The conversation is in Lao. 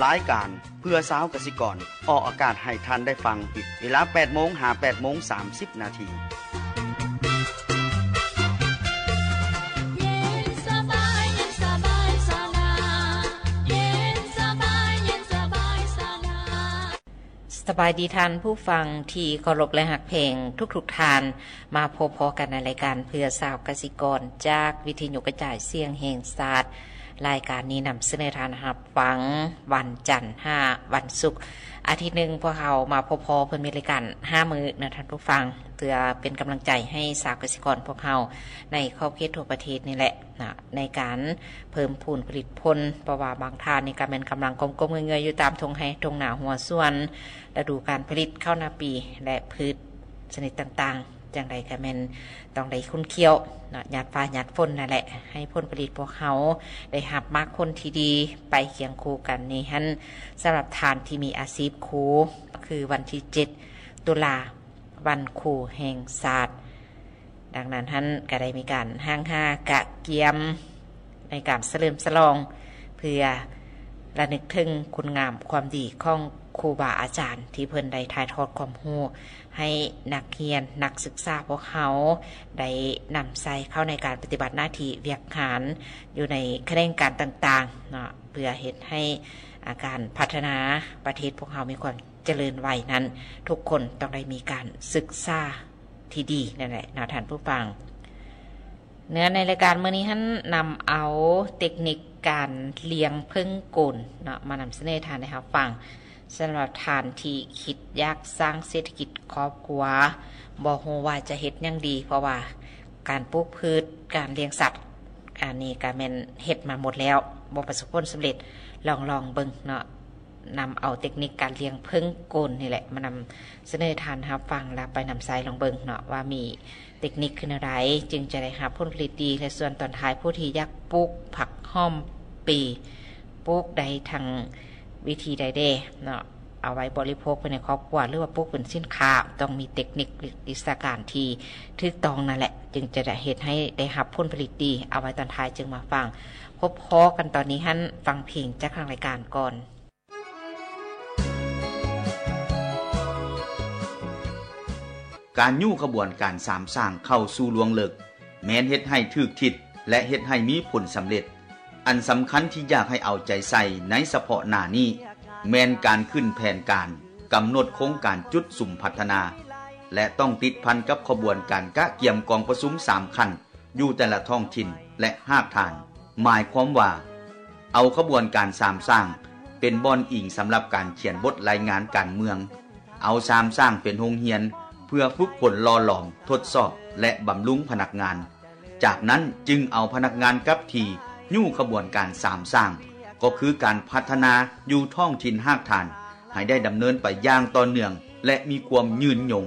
ລາຍການເພື່ອຊາວກະສິກອນ ອອກອາກາດໃຫ້ທ່ານໄດ້ຟັງ ເວລາແປດໂມງຫາແປດໂມງສາມສິບນາທີ. ສະບາຍດີທ່ານຜູ້ຟັງທີ່ເຄົາລົບ ແລະ ຮັກແພງທຸກໆທ່ານ. ມາພົບພໍ້ກັນໃນລາຍການເພື່ອຊາວກະສິກອນ ຈາກວິທະຍຸກະຈາຍສຽງແຫ່ງຊາດ. ລາຍການນີ້ນຳສະເໜີທ່ານຮັບຟັງວັນຈັນຫາວັນສຸກ. ອາທິດໜຶ່ງພວກເຮົາມາພົບພໍ້ເພິ່ນມີລາຍການຫ້າມື້ນະທ່ານຜູ້ຟັງ ເພື່ອເປັນກຳລັງໃຈໃຫ້ຊາວກະສິກອນພວກເຮົາໃນຂອບເຂດທົ່ວປະເທດນີ້ແຫຼະນະ ໃນການເພີ່ມພູນຜະລິດຜົນ. ເພາະວ່າບາງທ່ານນີ້ກະແມ່ນກຳລັງກົ້ມໆເງືອຍໆຢູ່ຕາມທົ່ງໄຮ່ທົ່ງນາຮົ້ວສວນ ລະດູການຜະລິດເຂົ້ານາປີ ແລະ ພືດຊະນິດຕ່າງໆ. ຈັ່ງໃດກະແມ່ນຕ້ອງໄດ້ຂຸ້ນຂ້ຽວເນາະ ຫຍາດຟ້າຫຍາດຝົນນັ້ນແຫຼະ ໃຫ້ຜົນຜະລິດພວກເຮົາໄດ້ຮັບໝາກຜົນທີ່ດີ. ໄປຄຽງຄູ່ກັນນີ້ຫັ້ນ ສຳລັບທ່ານທີ່ມີອາຊີບຄູ ຄືວັນທີເຈັດຕຸລາ ວັນຄູແຫ່ງຊາດ. ດັ່ງນັ້ນຫັ້ນກະໄດ້ມີການຮ່າງຫາກະກຽມໃນການສະເຫຼີມສະຫຼອງ ເພື່ອລະນຶກເຖິງຄຸນງາມຄວາມດີຂອງຄູບາອາຈານ ທີ່ເພິ່ນໄດ້ຖ່າຍທອດຄວາມຮູ້ ໃຫ້ນັກຮຽນນັກສຶກສາພວກເຮົາໄດ້ນຳໃຊ້ເຂົ້າໃນການປະຕິບັດໜ້າທີ່ວຽກງານຢູ່ໃນຂະແໜງການຕ່າງໆເນາະ ເພື່ອເຮັດໃຫ້ ອາ ການພັດທະນາປະເທດພວກເຮົາມີຄວາມຈະເລີນໄວນັ້ນ ທຸກຄົນຕ້ອງໄດ້ມີການສຶກສາທີ່ດີນັ້ນແຫຼະເນາະທ່ານຜູ້ຟັງ. ເນື້ອໃນລາຍການມື້ນີ້ຫັ້ນ ນຳເອົາເຕັກນິກການລ້ຽງເຜິ້ງໂກນເນາະ ມານຳສະເໜີທ່ານໄດ້ຮັບຟັງ. ສຳລັບທ່ານທີ່ຄິດຢາກສ້າງເສດຖະກິດຄອບຄົວ ບໍ່ຮູ້ວ່າຈະເຮັດຫຍັງດີ ເພາະວ່າການປູກພືດ ການລ້ຽງສັດ ອັນນີ້ກະແມ່ນເຮັດມາໝົດແລ້ວ ບໍ່ປະສົບຜົນສຳເລັດ. ລອງ ລອງເບິ່ງເນາະ ນຳເອົາເຕັກນິກການລ້ຽງເຜິ້ງໂກນນີ້ແຫຼະ ມານຳສະເໜີທ່ານຮັບຟັງ ແລ້ວໄປນຳໃຊ້ລອງເບິ່ງເນາະ ວ່າມີ ເຕັກນິກຄືແນວໃດຈຶ່ງຈະໄດ້ຮັບຜົນຜະລິດດີ ແລະ ສ່ວນຕອນທ້າຍ ຜູ້ທີ່ຢາກປູກຜັກຫອມປີ ປູກໄດ້ທັງວິທີໃດແດ່ເນາະ ເອົາໄວ້ບໍລິໂພກພາຍໃນຄອບຄົວ ຫຼືວ່າປູກເປັນສິນຄ້າ ຕ້ອງມີເຕັກນິກ ຫຼື ວິຊາການທີ່ຖືກຕ້ອງນັ້ນແຫຼະ ຈຶ່ງຈະໄດ້ເຮັດໃຫ້ໄດ້ຮັບຜົນຜະລິດດີ. ເອົາໄວ້ຕອນທ້າຍຈຶ່ງມາຟັງ. ພົບພໍ້ກັນຕອນນີ້ຫັ້ນ ຟັງເພງຈາກທາງລາຍການກ່ອນ. ການຍູ້ຂະບວນການສາມສ້າງເຂົ້າສູ່ລວງເລິກ ແມ່ນເຮັດໃຫ້ຖືກທິດ ແລະ ເຮັດໃຫ້ມີຜົນສຳເລັດ. ອັນສຳຄັນທີ່ຢາກໃຫ້ເອົາໃຈໃສ່ໃນສະເພາະໜ້ານີ້ ແມ່ນການຂຶ້ນແຜນການ, ກຳນົດໂຄງການຈຸດສຸມພັດທະນາ ແລະ ຕ້ອງຕິດພັນກັບຂະບວນການກະກຽມກອງປະຊຸມສາມຂັ້ນ ຢູ່ແຕ່ລະທ້ອງຖິ່ນ ແລະ ຮາກຖານ. ໝາຍຄວາມວ່າ ເອົາຂະບວນການສາມສ້າງ ເປັນບ່ອນອີງສຳລັບການຂຽນບົດລາຍງານການເມືອງ, ເອົາສາມສ້າງເປັນໂຮງຮຽນ ເພື່ອຝຶກຝົນຫຼໍ່ຫຼອມ, ທົດສອບ ແລະ ບຳລຸງພະນັກງານ. ຈາກນັ້ນຈຶ່ງເອົາພະນັກງານກັບທີ່ຍູ້ຂະບວນການສາມສ້າງ ກໍຄືການພັດທະນາຢູ່ທ້ອງຖິ່ນຮາກຖານ ໃຫ້ໄດ້ດຳເນີນໄປຢ່າງຕໍ່ເນື່ອງ ແລະ ມີຄວາມຍືນຍົງ.